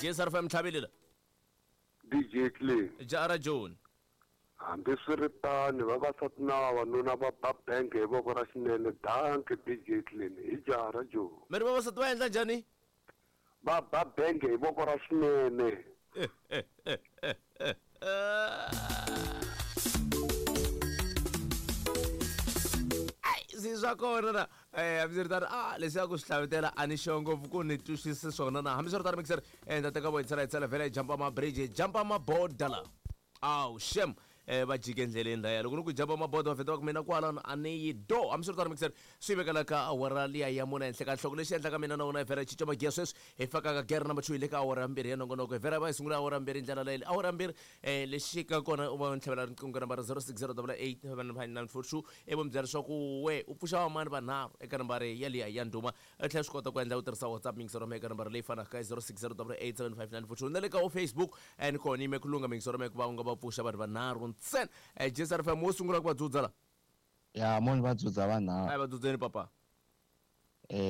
Jesrfm tlhavelela. DJ Clean. Jara John. Hambiswiritano, vavasati na vavanuna va ba benge hi voko ra xinene. Dankie DJ Clean. Hi jaha ra John. Mi ri vavasati va endla njhani? Va ba benge hi voko ra xinene. Ai, swi swa kona na hambiswiritano a leswi ya ku swi hlavutela a ni sure ngopfu ku ni twisisi swona na. Hambiswiritano mixer ni ta teka vo hi tsela hi tsela vhela hi jampa ma-bridge, hi jampa maboda la. Awu shem, va jike endleleni laya. Loko ni ku jampa maboda va feta va ku mina kwalano a ni yi do. Hambiswiritano mixer swi vekela ka awara liya ya mune henhla ka nhloko. Lexi endlaka mina na wena hi vhela hi cinca magiya sweswi hi faka ka gere number 2 hi le ka awara ya mbirhi ya nongonoko. Hi vhela va hi sungula awara mbirhi hi ndlela leyi. Awara mbirhi lexi ka kona u va ntlhavela riqingho nambara 0608885942 ivi mi byela leswaku we u pfuxa vamani vanharhu eka nambara yaliya ya ndhuma. U tlhela swi kota ku endla u tirhisa WhatsApp mixer eka nambara leyi fanaka 0608875942 na le ka Facebook ni kona yime ku lungha mixer ku va u nga va pfuxa vanhu vanharhu ntsena. JSRFM wo sungula ku va dzudza la. Ya moni va dzudza vanharhu. A va dzudzeni papa.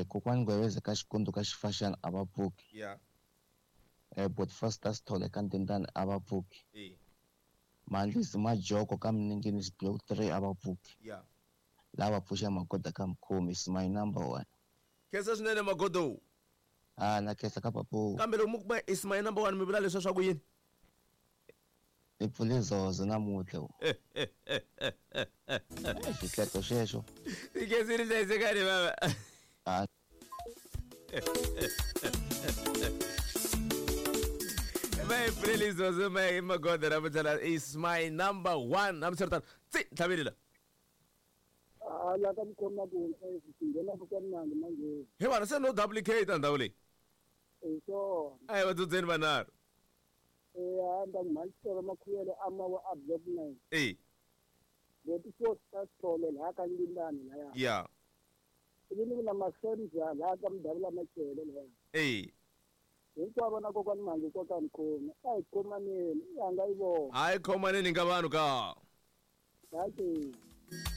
Kokwani Ngweveze ka Xikundu ka Xifaxana a va pfuki. Ya. But Foster Sithole ka Ndindani a va pfuki. Mandlisi Majoko ka Mninginis Block 3 a va pfuki. Ya. Lava pfuxa Magoda ka Mkhumi is my number 1. Khensa swinene Magodo. Ah, na khensa ka papu. Kambe loko mi ku is my number 1 mi vula leswa swa ku yini? Ni pfule zozo namuntlha. Xihleto xexo. Tikhensile hlayisekani baba. Ah. Va hi pfuleli zozo ma Magoda namuntlha is my number 1. Hambiswiritano tsi tlhavelela. La ka Mkhoma ku swi nghena ku mnandi manje. He vana se no duplicate ndhawu leyi. So. A hi va dzudzeni vanharhu. Hamba ngimalisela makhuyele amawa a block 9. Leti four Sithole la ka Ndindani laya. Ya. Ivi na Masenza la ka Mdavula Machele laya. Hinkwavo na kokwani Mhangi koka Mkhoma. A hi khomaneni, i hanga yi vona. A hi khomaneni nga vanhu ka. Dankie.